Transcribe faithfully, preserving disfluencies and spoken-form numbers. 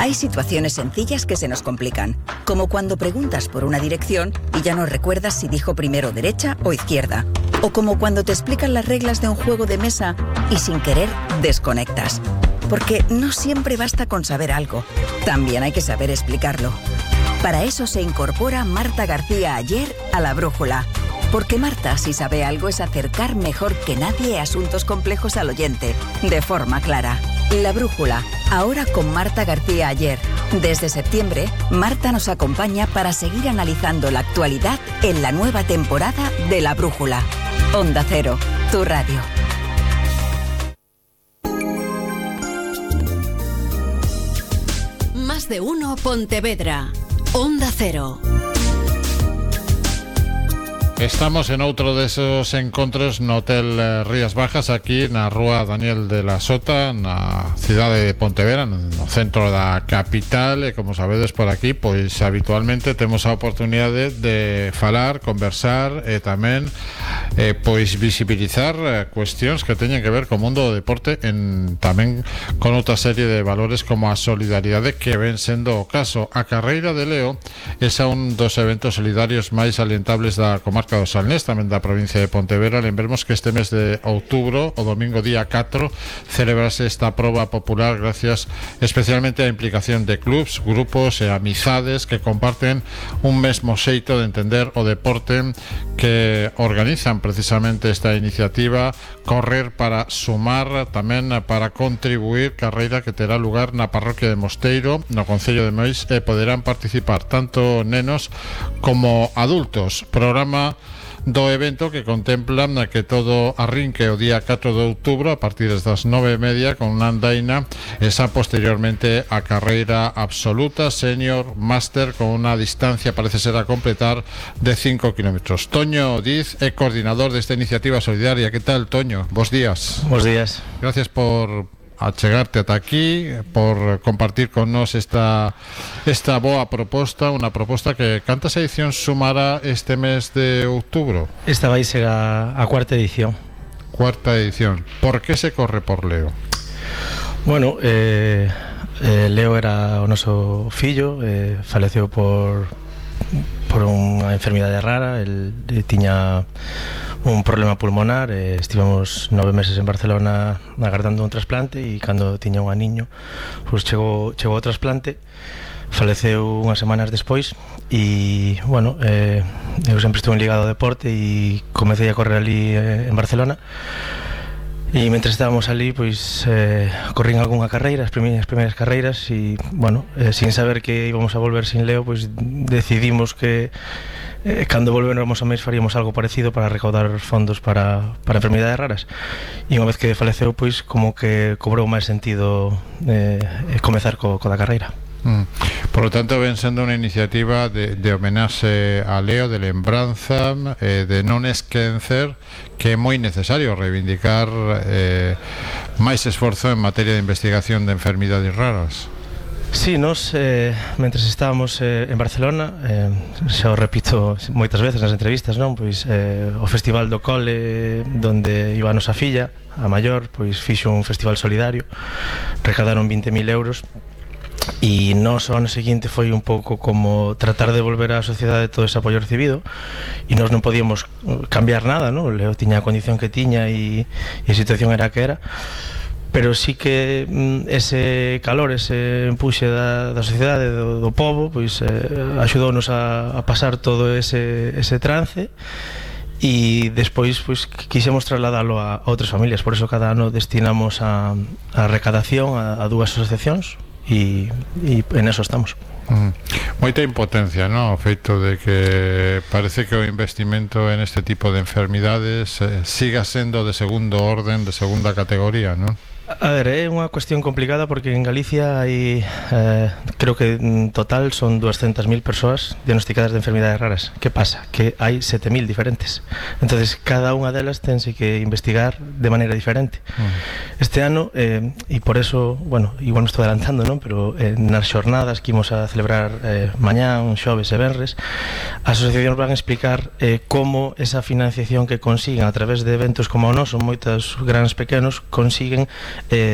Hay situaciones sencillas que se nos complican, como cuando preguntas por una dirección y ya no recuerdas si dijo primero derecha o izquierda, o como cuando te explican las reglas de un juego de mesa y sin querer desconectas. Porque no siempre basta con saber algo, también hay que saber explicarlo. Para eso se incorpora Marta García Aller a La Brújula. Porque Marta, si sabe algo, es acercar mejor que nadie asuntos complejos al oyente, de forma clara. La Brújula, ahora con Marta García Aller. Desde septiembre, Marta nos acompaña para seguir analizando la actualidad en la nueva temporada de La Brújula. Onda Cero, tu radio. Más de uno Pontevedra. Onda Cero. Estamos en outro desos encontros no Hotel Rías Bajas, aquí na Rúa Daniel de la Sota, na cidade de Pontevedra, no centro da capital. E como sabedes, por aquí pois habitualmente temos a oportunidade de falar, conversar e tamén eh, pois visibilizar eh, cuestións que teñen que ver co mundo do deporte, en tamén con outra serie de valores como a solidaridade, que ven sendo o caso. A carreira de Leo é un dos eventos solidarios máis salientables da comarca do Salnés, tamén da provincia de Pontevedra. Lembremos que este mes de outubro, o domingo día catro, celebrase esta proba popular gracias especialmente á implicación de clubs, grupos e amizades que comparten un mesmo xeito de entender o deporte, que organizan precisamente esta iniciativa Correr para Sumar, tamén para contribuir, carreira que terá lugar na parroquia de Mosteiro, no concello de Mois, e poderán participar tanto nenos como adultos. Programa do evento que contempla que todo arrinque o día catro de outubro a partir das nove e media con unha andaina, esa posteriormente a carreira absoluta, senior, máster, con unha distancia parece ser a completar de cinco kilómetros. Toño Diz é coordinador desta iniciativa solidaria. Que tal, Toño? Bos días. Bos días. Gracias por a chegarte ata aquí, por compartir con nos esta esta boa proposta, unha proposta que cantas edicións sumará este mes de outubro? Esta vai ser a, a cuarta edición. Cuarta edición. Por que se corre por Leo? Bueno, eh, eh, Leo era o noso fillo, eh, faleceu por por unha enfermidade rara. El eh, tiña un problema pulmonar, eh, estivemos nove meses en Barcelona agardando un trasplante, e cando tiña un aniño pois chegou, chegou o trasplante, faleceu unhas semanas despois. E, bueno, eh, eu sempre estuve ligado ao deporte e comecei a correr ali eh, en Barcelona. E mentre estábamos ali, pois eh, corrín algunha carreira, as primeiras, primeiras carreiras, e, bueno, eh, sin saber que íbamos a volver sin Leo, pois decidimos que eh, cando volvéramos a mes faríamos algo parecido para recaudar fondos para, para enfermidades raras. E unha vez que faleceu, pois como que cobrou máis sentido eh, comezar co, co da carreira. Mm. Por lo tanto, ven sendo unha iniciativa de, de homenaxe a Leo, de lembranza, eh, de non esquecer que é moi necesario reivindicar eh, máis esforzo en materia de investigación de enfermidades raras. Sí, nos, eh, mentres estábamos eh, en Barcelona, eh, xa o repito moitas veces nas entrevistas, non? Pois eh, o Festival do Cole, donde iba a nosa filla, a maior, pois fixo un festival solidario, recadaron vinte mil euros. E nos o ano seguinte foi un pouco como tratar de volver á sociedade todo ese apoio recibido, e nos non podíamos cambiar nada, non? Leo tiña a condición que tiña e, e a situación era a que era, pero sí que mm, ese calor, ese empuxe da, da sociedade, do, do povo, pois eh, axudounos a, a pasar todo ese, ese trance. E despois pois quixemos trasladalo a, a outras familias. Por eso cada ano destinamos a, a recadación a, a dúas asociacións, e, e en eso estamos. Mm. Moita impotencia, ¿no? O feito de que parece que o investimento en este tipo de enfermidades eh, siga sendo de segundo orden, de segunda categoría, ¿no? A ver, é unha cuestión complicada porque en Galicia hai, eh, creo que en total son doscientas mil persoas diagnosticadas de enfermidades raras. Que pasa? Que hai sete mil diferentes. Entonces, cada unha delas tense que investigar de maneira diferente. Uh-huh. Este ano, eh, e por eso, bueno, igual non estou adelantando, non? Pero eh, nas xornadas que imos a celebrar eh, mañán, xoves e venres, as asociacións van a explicar eh, como esa financiación que consiguen a través de eventos como o noso, moitos grandes pequenos, consiguen eh,